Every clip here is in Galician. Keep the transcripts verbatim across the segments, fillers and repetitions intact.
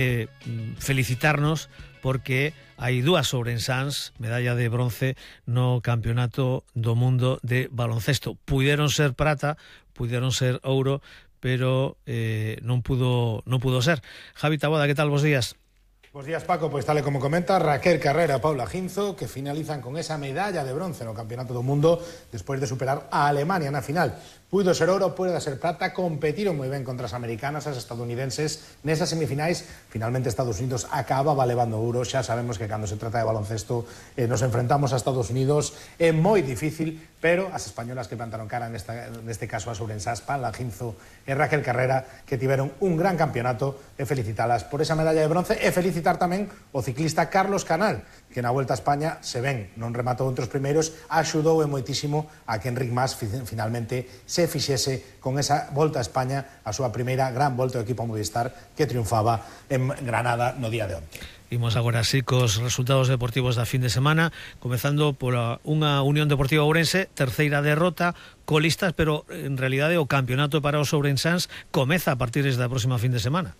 eh, felicitarnos porque hai dúas ourensáns, medalla de bronce no Campeonato do Mundo de baloncesto. Puideron ser prata, puideron ser ouro, pero eh, non pudo non pudo ser. Javi Taboada, que tal? Bos días. Bos días, Paco. Pois tal e como comenta, Raquel Carrera e Paula Ginzo, que finalizan con esa medalla de bronce no Campeonato do Mundo despois de superar a Alemania na final. Puido ser ouro, puido ser prata, competiron moi ben contra as americanas, as estadounidenses nesas semifinais. Finalmente Estados Unidos acababa levando ouro. Xa sabemos que cando se trata de baloncesto eh, nos enfrentamos a Estados Unidos, é moi difícil, pero as españolas que plantaron cara nesta, neste caso as ourensás, Paula Ginzo e Raquel Carrera, que tiveron un gran campeonato, e felicitalas por esa medalla de bronce, e felicitar tamén o ciclista Carlos Canal, que na Volta a España, se ven, non rematou entre os primeiros, axudou e moitísimo a que Enric Mas finalmente se fixese con esa Volta a España, a súa primeira gran volta do equipo Movistar, que triunfaba en Granada no día de onte. Imos agora así cos resultados deportivos da fin de semana, comezando por unha Unión Deportiva Ourense, terceira derrota, colistas, pero en realidade o campeonato para os ourensáns comeza a partir da próxima fin de semana.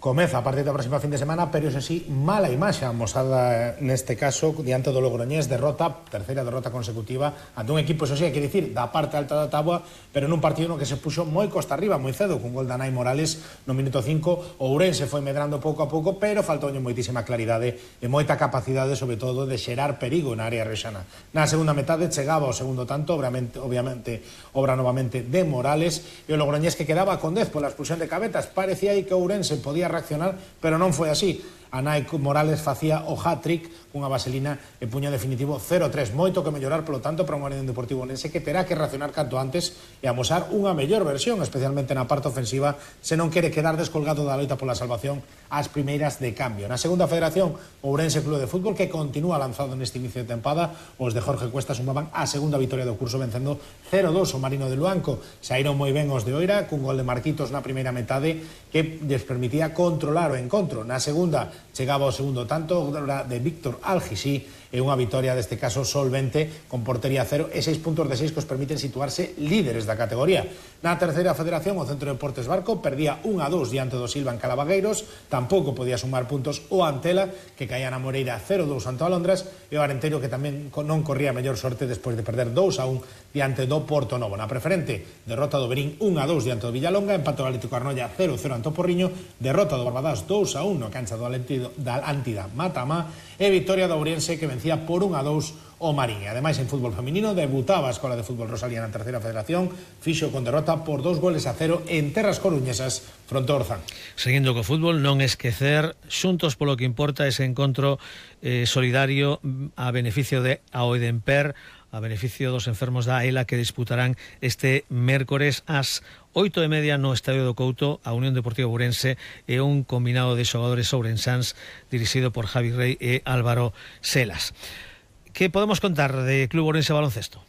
Comeza a partir da próxima fin de semana, pero iso sí, mala imaxe amosada neste caso diante do Logroñés, derrota, terceira derrota consecutiva ante un equipo, iso sí, hai que dicir, da parte alta da táboa, pero nun partido no que se puxo moi costa arriba, moi cedo, con gol de Anai Morales no minuto cinco. O Ourense foi medrando pouco a pouco, pero faltoulle moitísima claridade e moita capacidade, sobre todo, de xerar perigo na área rexana. Na segunda metade chegaba o segundo tanto, obviamente, obviamente obra novamente de Morales, e o Logroñés, que quedaba con dez pola expulsión de Cabetas. Parecía aí que o Ourense podía reaccionar, pero non foi así. Anai Morales facía o hat-trick cunha vaselina e puño definitivo cero tres. Moito que mellorar, polo tanto, para un Unión Deportivo Ourense que terá que reaccionar canto antes e amosar unha mellor versión, especialmente na parte ofensiva, se non quere quedar descolgado da loita pola salvación ás primeiras de cambio. Na segunda federación, o Ourense Club de Fútbol, que continúa lanzado neste inicio de tempada, os de Jorge Cuesta sumaban a segunda vitoria do curso vencendo cero dos o Marino de Luanco. Saíron moi ben os de Oira, cun gol de Marquitos na primeira metade que les permitía controlar o encontro. Na segunda chegaba o segundo tanto de Víctor Algisí e unha vitoria deste caso solvente con portería cero e seis puntos de seis que os permiten situarse líderes da categoría. Na terceira federación, o Centro de Deportes Barco perdía un a dos diante do Silva en Calavagueiros, tampouco podía sumar puntos o Antela, que caía na Moreira cero dos ante o Alondras, e o Arenteiro, que tamén non corría mellor sorte despois de perder dos a un diante do Porto Novo. Na preferente, derrota do Berín un a dos diante do Villalonga, empate do Atlético Arnoia cero cero ante o Porriño, derrota do Barbadas dos a un no cancha do Atlético da Antida Matamá, e victoria do Ourense, que vencía por un a dos o Marín. Ademais, en fútbol feminino, debutaba a Escola de Fútbol Rosalía na terceira federación, fixo con derrota por dos goles a cero en terras coruñesas fronte ao Orzán. Seguindo co fútbol, non esquecer xuntos polo que importa ese encontro eh, solidario a beneficio de Aoedemper, a beneficio dos enfermos da ELA, que disputarán este mércores ás oito e media no Estadio do Couto, a Unión Deportiva Ourense e un combinado de xogadores ourensáns dirixido por Javi Rey e Álvaro Selas. Que podemos contar de Club Ourense Baloncesto?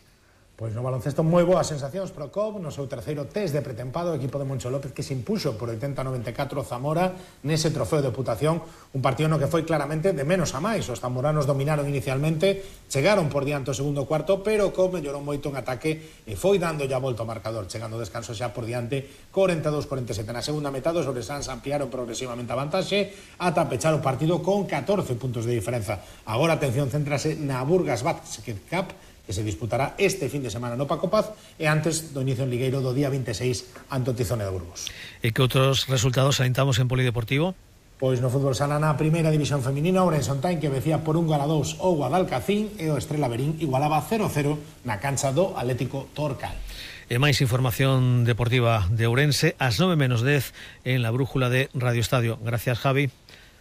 Pois no baloncesto moi boas sensacións pro C O B no seu terceiro test de pretempado, o equipo de Moncho López, que se impuxo por oitenta a noventa e catro Zamora nese trofeo de Deputación, un partido no que foi claramente de menos a máis. Os zamoranos dominaron inicialmente, chegaron por diante o segundo cuarto, pero o C O B mellorou moito en ataque e foi dando ya volta ao marcador, chegando ao descanso xa por diante corenta e dous a corenta e sete. Na segunda metade os ourensáns ampliaron progresivamente a vantaxe ata pechar o partido con catorce puntos de diferenza. Agora a atención céntrase na Burgas Basket Cup, que se disputará este fin de semana no Paco Paz e antes do inicio en Ligueiro do día vinte e seis ante o Tizone de Burgos. E que outros resultados alentamos en polideportivo? Pois no fútbol sala, na primeira división feminina, Ourense Ontain, que vencía por un gol a dous o Guadalcacín, e o Estrela Verín igualaba cero cero na cancha do Atlético Torcal. E máis información deportiva de Ourense ás nove menos dez en la brújula de Radio Estadio. Gracias, Javi.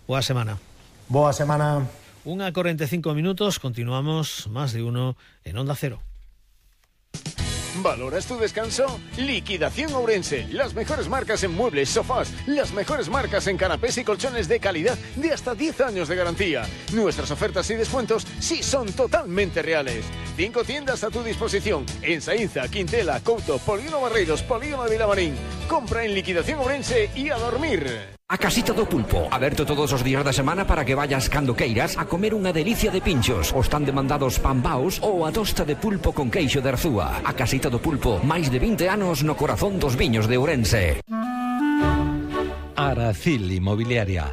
Boa semana. Boa semana. Una cuarenta y cinco minutos, continuamos más de uno en Onda Cero. ¿Valoras tu descanso? Liquidación Ourense. Las mejores marcas en muebles, sofás, las mejores marcas en canapés y colchones de calidad de hasta diez años de garantía. Nuestras ofertas y descuentos sí son totalmente reales. Cinco tiendas a tu disposición en Saínza, Quintela, Couto, Polígono Barreiros, Polígono de Vilamarín. Compra en Liquidación Ourense y a dormir. A Casita do Pulpo, aberto todos os días da semana para que vayas cando queiras a comer unha delicia de pinchos, os tan demandados pambaos ou a tosta de pulpo con queixo de Arzúa. A Casita do Pulpo, máis de vinte anos no corazón dos viños de Ourense. Aracil Inmobiliaria.